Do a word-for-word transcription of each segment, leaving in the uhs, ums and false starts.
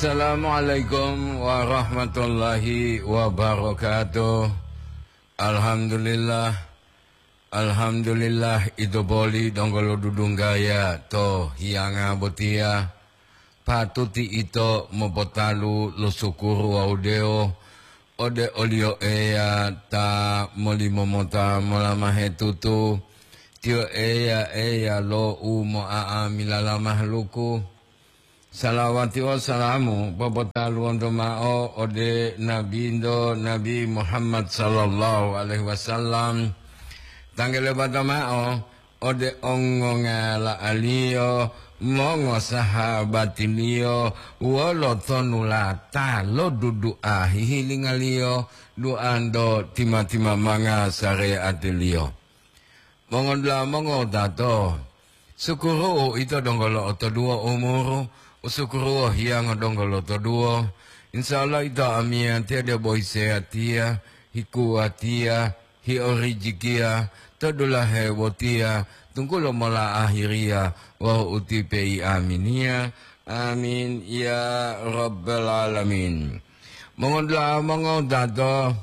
Assalamualaikum warahmatullahi wabarakatuh. Alhamdulillah. Alhamdulillah, ito poli donggo lo dudunggaya to hiyanga botiya. Patuti ito mopotalu lo sukuru wawu dewo ode oliyo Eya ta molimomota molamahe tutu. Tiyo Eya, Eya lo u mo'a'amilala mahaluku. Salawati wawu salamu popotaluwonto ma'o ode Nabinto, Nabi Muhammad sallallahu alaihi wasallam. Tanggelebata ma'o ode ongongala'aliyo, mongosahabatiliyo, wolo tonulata lo dudu'a hihilingaliyo, duanto tima-timamanga sare'atiliyo. Mongodula'a mongowutato, sukuru'u ito donggo lo'otoduwo umuru, usukuru'u hiyango donggo lotoduwo. Insya Allah ito amiyatiya debo hiseyatiya, hikuwatiya, hiorijikiya, to dulahe botiya, tunggulo mola ahiriya wawu utipeyi aminiya. Amin, ya Rabbal Alamin. Mongodula'a mongowutato,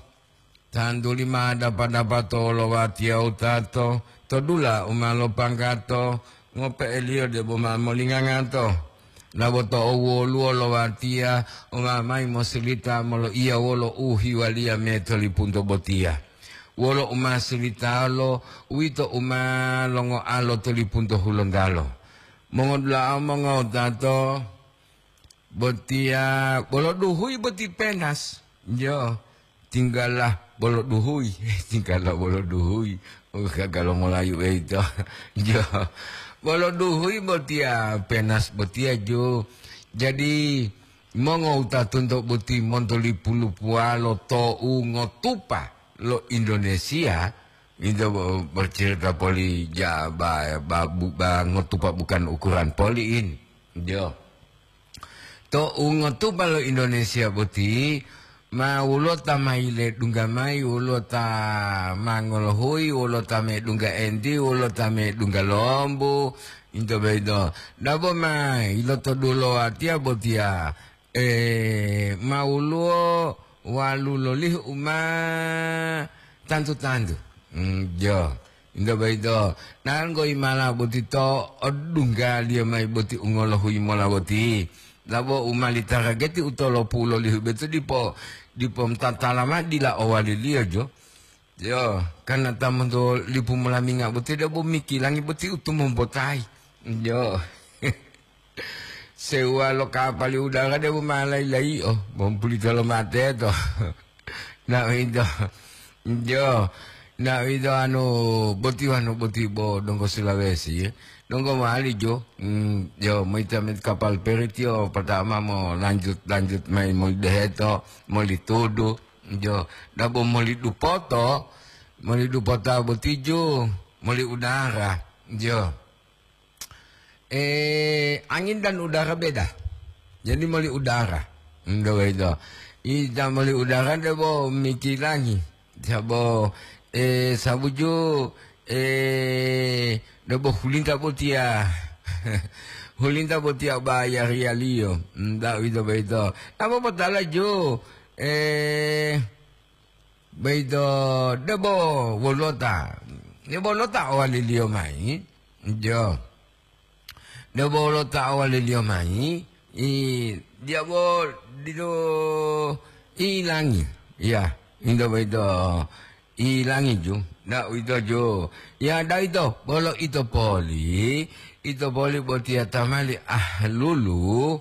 tantuli ma dapa-dapa to wolowatiya wutato, to dula u ma lopanggato, ngope'eliyo debo ma molingangato. Laboto owoluwo lowatiya u ma mayi mosilita moloiya wolo u hiwaliya me to lipunto botiya. Wolo u ma silitalo, uwito u ma longoalo to lipunto hulontalo. Mongodula'a mongowutato, botiya bolo duhuyi boti penas. Jo, tinggala bolo duhuyi, tinggala bolo duhuyi. Oh, gaga lo Molayu eito. Jo, bolo duhuyi botiya penas botiya jo. Jadi, mongowutatonto boti monto lipu-lipuwalo to'u ngotupa lo Indonesia, ito bo-, bercerita poli ja-, ba-, ba-, bu-, ba-, ngotupa bukan ukuran poli in. Jo. To ungotupa lo Indonesia boti, ma woluwo ta ma yiledungga mayi, woluwo ta ma ngolohuyi, woluwo ta medungga enti, woluwo ta medungga lombu, into boyito. Dabo ma yilotodulo watiya botiya, eh, ma woluwo walu lolihu u ma tantu-tantu. Mm, jo. Into boyito, nanggo imala boti to odunggaliyo mayi boti u ngolohuyi mola boti. Labo u mali tarageti u tolopu lolihu boyito dipo, dipo tatala mao dila owaliliyo jo. Jo, karna ta monto lipu molaminga boti debo mikilangi boti u tumumbotayi. Jo. Sewuwa lo kapali udara debo ma layi-layi'o, bompulito lo mateto. Na uwito, jo, na uwito anu boti wanu boti bo donggo Sulawesi, donggo mowali jo, mm, jo, moyita-moyita kapal peri tiyo patama mo lanjut-lanjut mayi moli deheto, moli tudu, jo, dabo moli dupoto, moli dupota boti jo, moli udara, jo. Eh, angin dan udara beda. Jadi moli udara. Ndo boyito. Ita moli udara debo mikilangi. Sabo, eh, sabuju, eh, debo hulinta botiya. Hulinta botiya bayariyaliyo. Nda uwito boyito. Apa potala jo? Eh, Boyito debo wolota, debo wolota owaliliyo mayi, jo. Debo wolota owaliliyo mayi, i, diya bo didu ilangi, ya, into boyito ilangi ju, nda uwito ju, ya, nda uwito, bolo ito poli, ito poli botiya tamali ahlulu,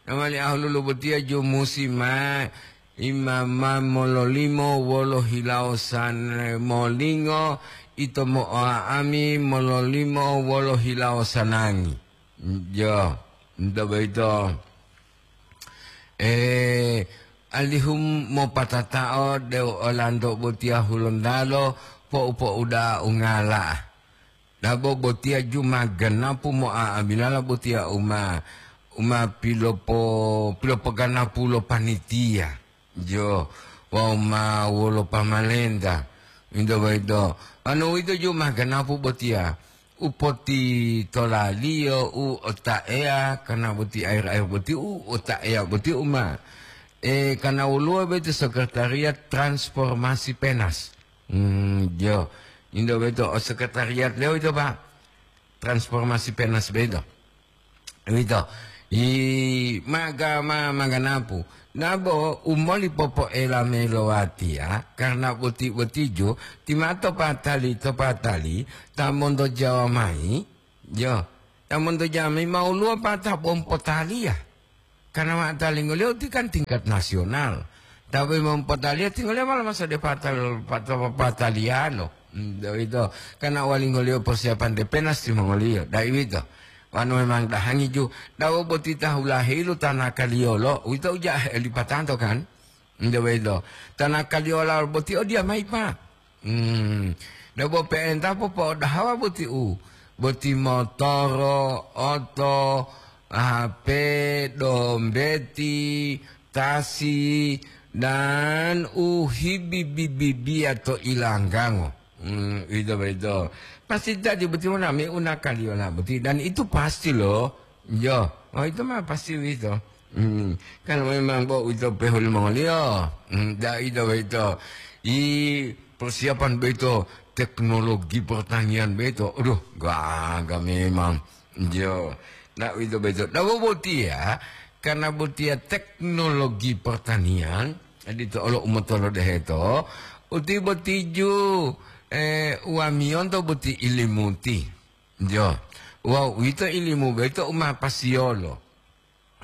tamali ahlulu botiya ju musi ma Imama mololimo wolo hilawo san-, molingo, ito mo'oa'ami mololimo wolo hilawo sanangi. Jo, nto boyito, eh, alihu mopatatao deu olanto botiya hulontalo po'u-po'uda'a ungala. Dabo botiya ju ma ganapu mo'a'amilala botiya u ma, u ma pilopo-, pilopoganapu lo panitiya, jo, wawu ma wolo pamalenta. Into boyito, wonu uwito ju ma ganapu botiya, u potitolaliyo, u otaeya, karena boti air-air boti u otaeya boti u ma, eh, karena woluwo boyito sekretariat transformasi penas. Hmm, jo. Indo boyito o sekretariat lewo ito, Pak. Transformasi penas boyito. Uwito, i maga-, ma-, maganapu. Nabo u moli popoela mayi lo watiya, karna boti-botiju, ti ma to patali, to patali, ta monto Jawa mayi, jo, ta monto Jawa mayi ma woluwo pa ta bo mopotaliya. Karna ma talingoliyo ti kan tingkat nasional. Ta bo mopotaliya tingoliyo ma lomasa de patal-, patal-, pataliyalo. Hmm, uwito, karna walingoliyo persiapan de penas timongoliyo, dai uwito. Wanu memang dahangi ju, dawo boti tahu lahilu tanakaliyolo, uwito uja helipatanto kan? Nde wedo. Tanakaliyolo boti odiya mayi, Pak. Hmm. Debo pe'enta popo'odahawa boti u, boti motoro, oto, H P, dombeti, tasi, dan u hibibi-bibiya to ilanggango. Hmm, uwito boyito. Pasti jadi boti monami u nakaliyola boti, dan itu pasti lo. Jo, oh, itu ma pasti uwito. Hmm, kan memang bo uwito pehu limongoliyo. Hmm, da ito boyito. I persiapan boyito, teknologi pertanian boyito. Aduh, gaga memang. Jo, da uwito boyito. Da bo botiya, karna botiya teknologi pertanian, jadi to olo umotolodeheto, uti botiju, eh, wamiyonto boti ilimuti. Jo, wawu uwito ilimu boyito u ma pasiyolo.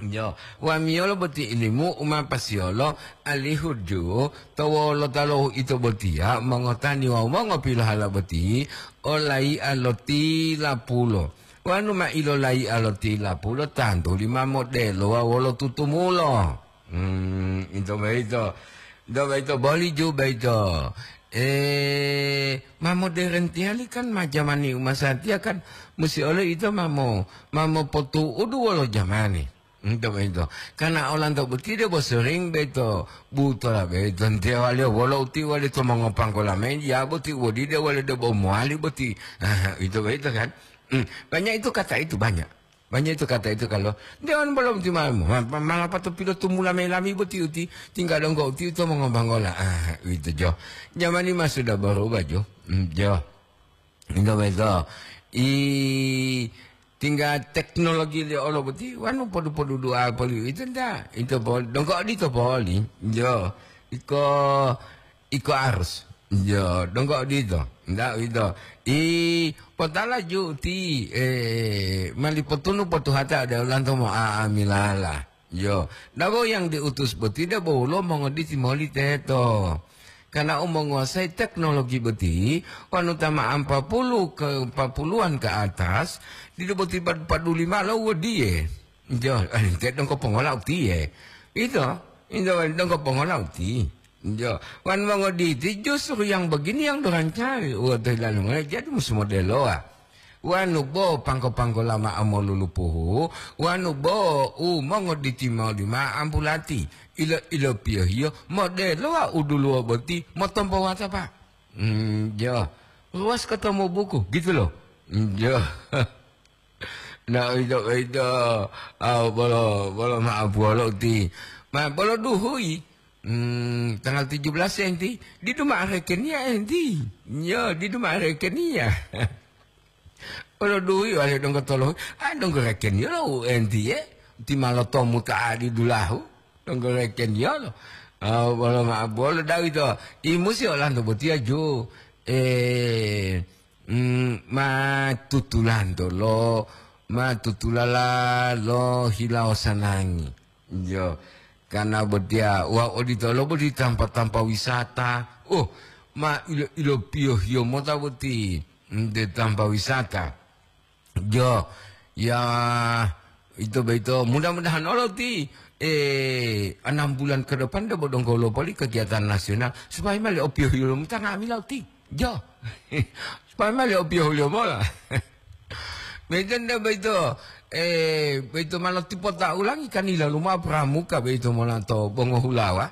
Jo, wamiyolo boti ilimu u ma pasiyolo, alihu ju to wolota lo uwito botiya mongotani wawu mongopilohala boti o layi'a lo tilapulo. Wanu ma ilolayi'a lo tilapulo, tantuli ma modelo wawu wolo tutumulo. Hmm, ito boyito. Ito boyito boli ju boyito. Eh, ma moderen tiyali kan, ma jamani u masatiya kan, musi olo ito ma mo-, ma mopotu'udu wolo jamani. Ito boyito. Karna olanto boti debo sering boyito, butola boyito, ntewaliyo wolo uti wali to mongopanggola mayi, ya boti wodide wali debo mowali boti. Ito boyito kan. Hmm, banyak itu kata itu, banyak. Banyak itu kata itu kalau, "Nde wonu bolo boti ma-, ma-, ma-, malapato pilotumula mayi lami boti uti, tingga donggo uti uto mongobanggola." Ah, uwito jo. Jamani ma sudah berubah jo. Hmm, jo. Ito boyito. I tingga teknologi le olo boti, wanu podu-podu dua poli uwito nda. Ito poli, donggo odito poli. Jo. Iko Iko arus. Yo, donggo odito. Nda uwito. I potala ju uti, eh, mali potunu potuhata ode olanto mo'a'amilala. Yo, dabo yang diutus boti debo woluwo mongoditi moli teto. Karena u monguasai teknologi boti, wanu ta ma ampa puluh ke empat puluhan ke atas, didu boti pad-, paduli mao lo wodiye. Jo, ente donggo pongola utiye. Ito, ito donggo pongola uti. Jo, wan mongoditi justru yang begini yang dorancari. Uwa to hilalu ngoe, jadi musu modeloa. Wanu bo pangko-pangko lama amolulupuhu, wanu bo u mongoditi mao lima ampulati. Ilo, ilo piyohiyo, modeloa uduluwo boti, motompo wata, Pak. Hmm, jo. Ruas ketemu buku, gitu loh. Hmm, jo. Nah, uwito, uwito, ah, bolo, bolo ma'o buwolo uti. Ma, bolo duhuyi, hmm, tanggal tujuh belas enti, didu ma'o rekeniya enti. Yo, didu ma'o rekeniya. Bolo duhuyi, wale donggo tolohu, ah, donggo rekeniya lo u enti ye. Ti ma lotomu ta adi dulahu. Donggo rekeniya lo. Ah, bolo ma'o buwolo da'a uwito. I musi olanto botiya ju. Eh, Mm, ma tutulanto lo, ma tutulala lo hilawo sanangi. Jo, karena botiya, wa odito lo boti tampa-tampa wisata. Oh, ma ilo, ilo piyohiyo mota boti, mm, de tampa wisata. Jo, ya, ito boyito, mudah-mudahan olo ti, eh, enam bulan ke depan debo donggo lo poli kegiatan nasional, supaya mali o piyohiyo lo mota nga'amila uti. Jo. Supaya mali o piyohuliyo mola. Medan da boyito, eh, boyito ma lotipota ulangi kan yilalu mao pramuka boyito mola to bongohulawa.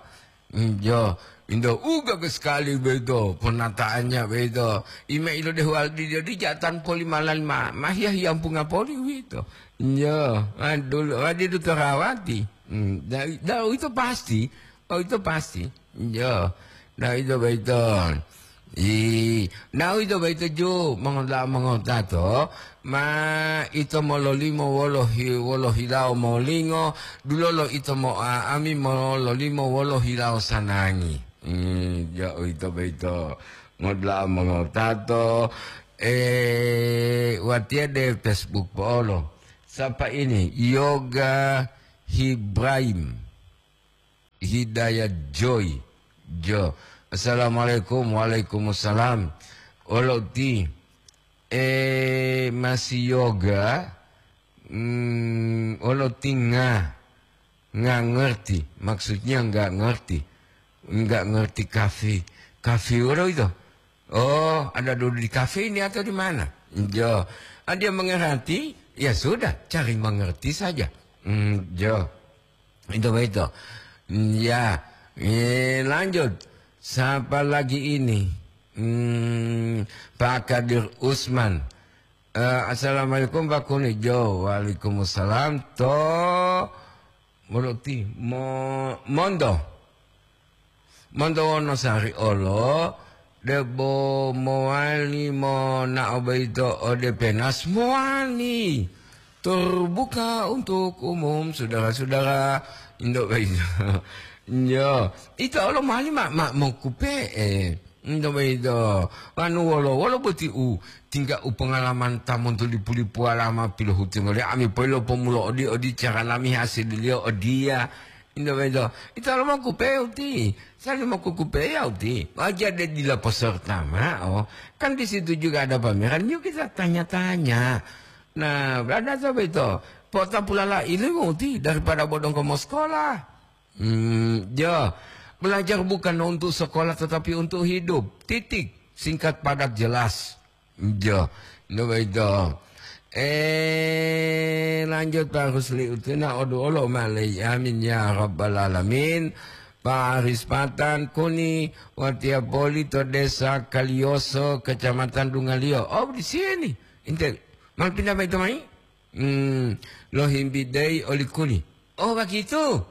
Njo, indo uga ke sekali beito, penataannya beito. Ime ilo dehu aldi dia di jatan poli malan ma, ma hiya-hiyampunga poli uwito. Njo, adul, adi du terawati. Hmm, da, da, itu pasti. Oh, itu pasti. Njo, da itu beito. I, nawi to boyito ju mongoda'a mongotato, ma ito mololimo wolo hi-, wolo hilawo molingo, dulolo ito mo'a'ami mololimo wolo hilawo sanangi. Hmm, ja uwito boyito ngoda'a mongotato, eh, watiya de Facebook po'olo. Sapa ini? Yoga Hibraim. Hidayat Joy. Jo. Assalamualaikum. Waalaikumsalam. Olo ti, eh, masih yoga. Hmm, olo ti nga, nga ngerti. Maksudnya nggak ngerti. Nggak ngerti kafi. Kafi olo itu. Oh, ada dulu di kafe ini atau di mana? Jo. Ah, dia mengerti? Ya sudah, cari mengerti saja. Hmm, jo. Itu begitu. Hmm, ya. Eh, lanjut. Siapa lagi ini? Hmm, Pak Kadir Usman. Eh, assalamualaikum, Pak Kuni. Jo, waalaikumsalam. To, mengerti. Mo-, mondo. Monto Wonosari olo, debo mowali monao boyito ode Penas, mowali. Terbuka untuk umum, saudara-saudara. Indo boyito. Yo, ito olo mowali ma, ma mokupe'e. Indo boyito. Wanu wolo, wolo boti u tingga u pengalaman ta monto lipu-lipuwala ma pilohutungo li ami poilo pomulo odi, odi cara lami hasililiyo odiya. Indo boyito, ito lo mokupe'e uti, sali mokukupe'e ya uti. Wajar dia dila peserta ma'o. Kan di situ juga ada pameran, yuk kita tanya-tanya. Nah, berada sampai itu, potapulala ilmu uti daripada bodong komo sekolah. Hmm, ya, belajar bukan untuk sekolah tetapi untuk hidup. Titik, singkat padat jelas. Jo, no boyito. Eh, lanjut Pak Rusli Utuna, odu olo malai. Amin ya rabbal alamin. Pak Aris Patan Kuni, watiya poli to Desa Kaliyoso, Kecamatan Dungaliyo. Oh, di sini. Inte, mal pindah boyito mai? Hmm, lo himbidei oli Kuni. Oh, begitu.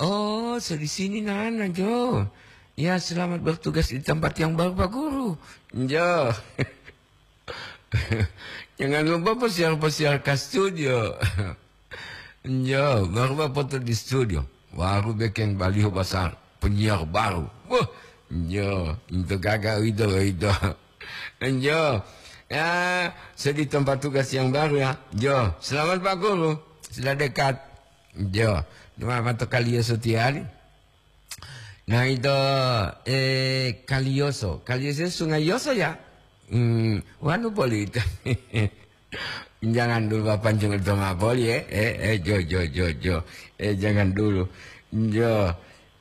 Oh, so di sini nana, Jo. Ya, selamat bertugas di tempat yang baru, Pak Guru. Jo. Jangan lupa pesiar-pesiar ke studio. Jo, baru Bapak foto di studio. Baru bikin baliho besar. Penyiar baru. Wah, jo, itu gagal itu, itu. Jo, ya, saya di tempat tugas yang baru ya. Jo, selamat Pak Guru. Sudah dekat. Jo, cuma mata kalian setiali. Nah, itu, eh, Kaliyoso. Kaliyoso Sungai Yoso, ya? Hmm, wanu poli itu. Jangan dulu, Bapak, jangan sama poli, eh. Eh, eh, jo, jo, jo, jo. Eh, jangan dulu. Jo.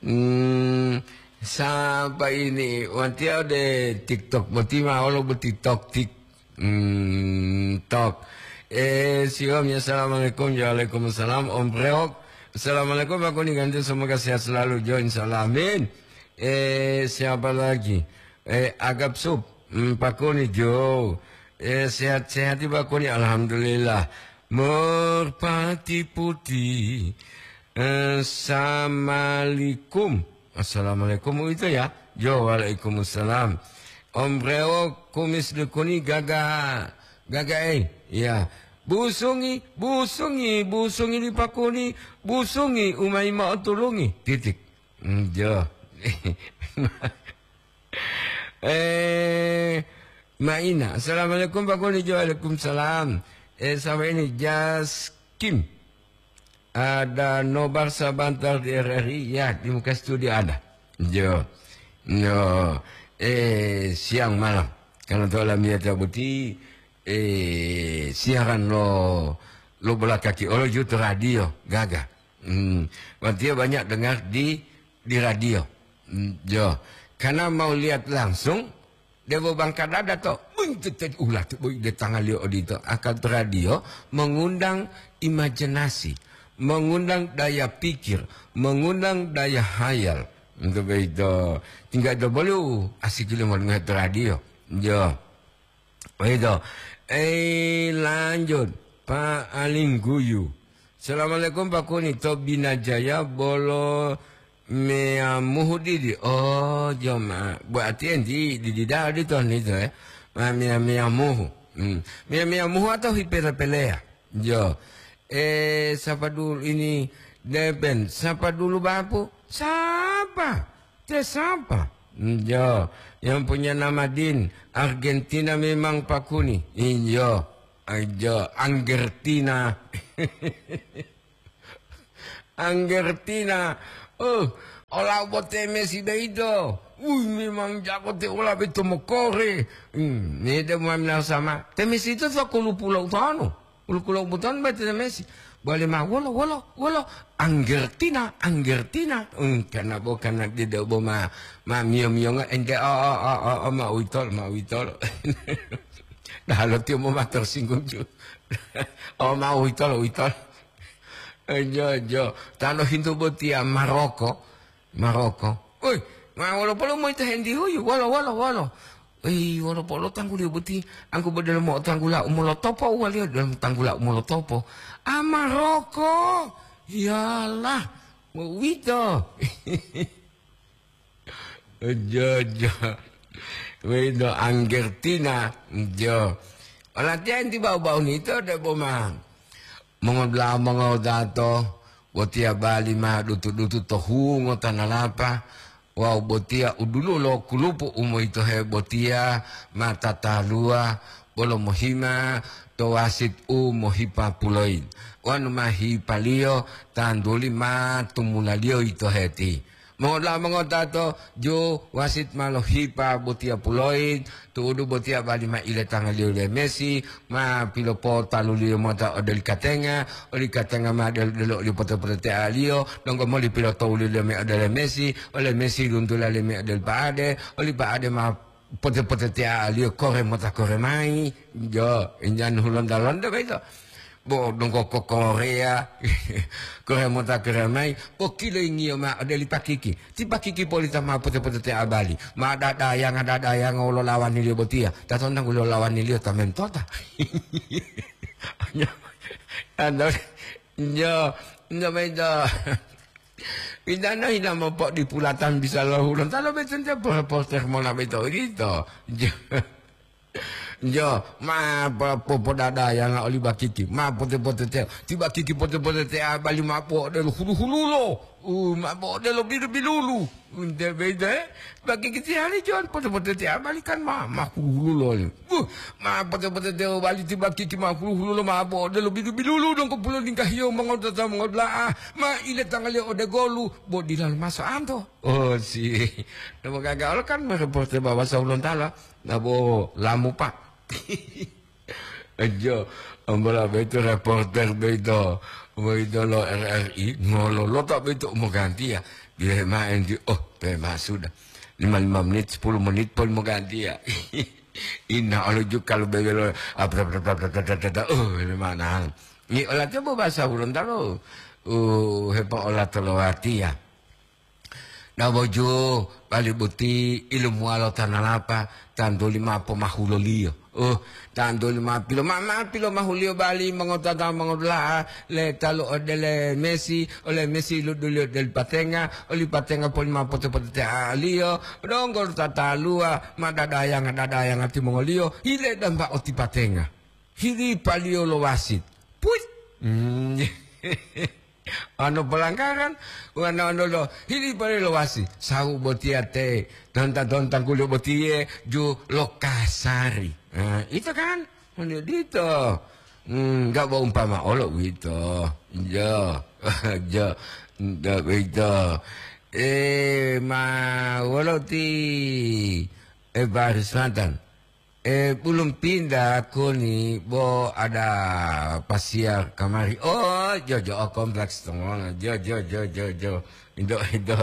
Hmm, siapa ini? Wanti ada TikTok, boti ma, olo boti tok tik. Hmm, tok. Eh, siom ya, assalamualaikum. Waalaikumsalam, Om Preok. Assalamualaikum, Pak Kuni Ganti. Semoga sehat selalu, Jo. Insyaallah, amin. Eh, siapa lagi? Eh, Agap Sup. Hmm, Pak Kuni, Jo. Eh, sehat-sehat, Pak Kuni. Alhamdulillah. Merpati Putih. Eh, assalamualaikum. Assalamualaikum itu ya. Jo, waalaikumsalam. Om Rewo kumis dukuni gaga, gaga, eh. Ya. Busungi, busungi, busungi di Pak Kuni, busungi umai ma'o tulungi. Titik. Hmm, jo. Eh, Maina. Assalamualaikum, Pak Kuni. Jo, waalaikumsalam. Eh, sama ini, Jaskim. Ada nobar sebentar di R R I, ya, di muka studio ada. Jo. No. Eh, siang malam. Karena to lamiyata boti, eh, siaran lo, lo belakaki olo jutu radio, gaga. Hmm. Berarti banyak dengar di, di radio. Hmm, jo. Karena mau lihat langsung, Debo bangka dada to, buntet ulati boy de tangaliyo odito. Akal to radio mengundang imajinasi, mengundang daya pikir, mengundang daya hayal. Untuk begitu, tinggal dobolu asik limo to radio. Yo. Begitu. Eh, lanjut, Pak Alingguyu. Assalamualaikum, Pak Kuni. To Binajaya bolo meyamuhu didi. Oh, joma. Berarti enti didi dadi to ni to, eh. Ma meya-, meyamuhu. Hmm. Meya-, meyamuhu atau hipele-pelea? Yo. Eh, siapa dulu ini? Deben. Siapa dulu, Bapu? Siapa? Te siapa? Yo. Yang punya nama Din. Argentina memang, Pak Kuni. Iyo. Aja Anggertina. Anggertina. Oh, olau bo te Messi beito. Ui, memang jago te ola beito mokore. Hmm, ni de mo minal sama. Te Messi itu to kulupu lo utanu. Kulupu lo utanu be te Messi. Bole ma wolo, wolo, wolo. Anggertina, Anggertina. Hmm, karena bo, karena dia de bo ma, ma mio-mio nga ente, oh, oh, oh, oh, oh, ma uitol, ma uitol. Nah, lo tio mo ma tersinggung ju. Oh, ma uitol, uitol. Eh, jo, jo. Tano hintu botiya Maroko. Maroko. Oi, ma wolo polo moyito hendi huyu? Wolo, wolo, wolo. Oi, wolo polo tangguliyo boti? Angku bodelo mo tanggula umolotopo, waliyo dalam tanggula umolotopo. Ah, Maroko. Yalah, mo uwito. Jo, jo. We'ito Anggertina, jo. Olatiya enti bau-bau nito debo ma mongodula'a mongodato, botiya bali ma dutu-dutu to hungo tanalapa, wawu botiya uduluwo lo kulupu u moyitohe botiya ma tataluwa bolo mohima to wasit u mohipa puloyi, wonu ma hipaliyo tantuli ma tumulaliyo yitoheti. Mongoda'a mongodato, ju wasit ma lohipa botiya puloyi, tu'udu botiya bali ma iletangaliyo le Messi, ma pilopotaluliyo mota ode oli katenga, oli katenga ma delo-delo oli pote-potetealiyo, donggo moli pilotowuliyo me ode le Messi, ole Messi luntula le me ode oli pa'ade, oli pa'ade ma pote-potetealiyo kore mota kore mayi. Jo, injan hulonda-londa boyito. Bo donggo ko Korea, kore mota kore mayi, bo kiloyingiyo ma ode li pakiki. Ti pakiki polita ma pote-potetea bali. Ma dadayanga-dadayanga wolo lawaniliyo botiya. Tatonu tangguliyo lawaniliyo ta mentota. Ando, nyo, nyo boyito. Idana hina mopodipulatan bisa lo Hulontalo boyito nte po-, poster mola boyito odito. Jo. Jo, ma po-, popodadayanga oli bakiki, ma pote-potetea. Ti bakiki pote-potetea bali ma po'odelo hulu-hululo. U, ma po'odelo bilu-bilulu. Unte boyito, eh? Bakiki tihali jon pote-potetea bali kan ma, ma hulu-hululo. Uh, ma pote-potetea bali ti bakiki ma hulu-hululo ma po'odelo bilu-bilulu donggo pulolinggahiyo mongotata mongodula'a. Ma iletangaliyo ode golu, bo dila lomaso anto. Oh, si. Demo gaga olo kan ma reporter Baba Sahulontala. Nabo lamu, Pak. Ejo, ambola boyito reporter boyito, boyito lo R R I, ngololota boyito u mogantiya. Bilohe mao enti, oh, pe ma sudah. Lima-lima menit, sepuluh menit pun mogantiya. Inna olo ju kalu bebelo, ah, oh, ini mana? Ni olatiya bo bahasa Hulontalo, uh, hepa ola tolowatiya. Naboju bali boti ilumuwalo tanalapa, tantuli ma pomahuloliyo. Uh, tantuli ma pilo-, ma, ma pilomahuliyo bali mongotata mongodula'a le talu ode le Messi, ole Messi luduliyo deli patenga, oli patenga poli ma pote-potetea'aliyo, donggo tataluwa ma dadayanga-dadayanga timongoliyo, hile damba oti patenga. Hilipaliyo lo wasit. Puit! Hmm. Ano pelanggaran, wano ano lo hili pare lo wasi, sahu botiya te, tonta-tonta kulo botiye ju lo kasari. Nah, itu kan, mani dito. Hmm, nggak mau umpama olo gitu. Jo, jo, ndak begitu. Eh, ma, wolo ti, eh, Baris Mantan. Eh, belum pindah koni, bo ada pasiar kamari. Oh, jo, jo, oh, kompleks tongona. Jo, jo, jo, jo, jo. Indo, indo.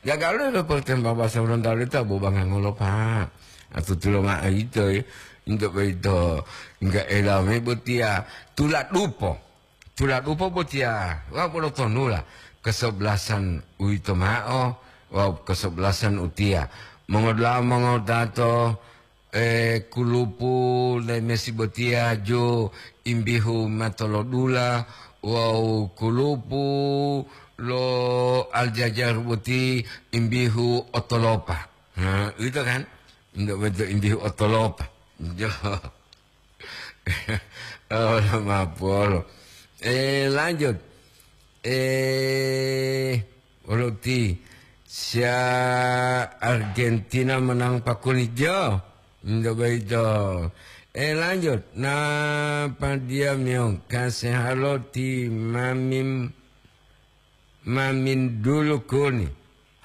Jaga lo, lo, pertembang bahasa Gorontalo itu, bo, bangang ngolo, Pak. Atau tulo ma, ito, eh. Indo, ito. Enggak elame botia. Tula dupo. Tula dupo botia. Wa, bolo tonula. Kesebelasan uito mao. Wawu kesebelasan utiya, mongodula'a mongotato, eh, kulupu le Messi botiya jo imbihu matolodula wawu kulupu lo Aljazair boti imbihu otolopa. Nah, itu kan? Ndak betul imbihu otolopa. Jo. Oh, mapolo. Eh, lanjut. Eh, Roti, sia Argentina menang pakuni jo. Ndak begitu. Eh, lanjut. Nah, Padia Miong, kasih halo ti Mamim, Mamin dulu kuni.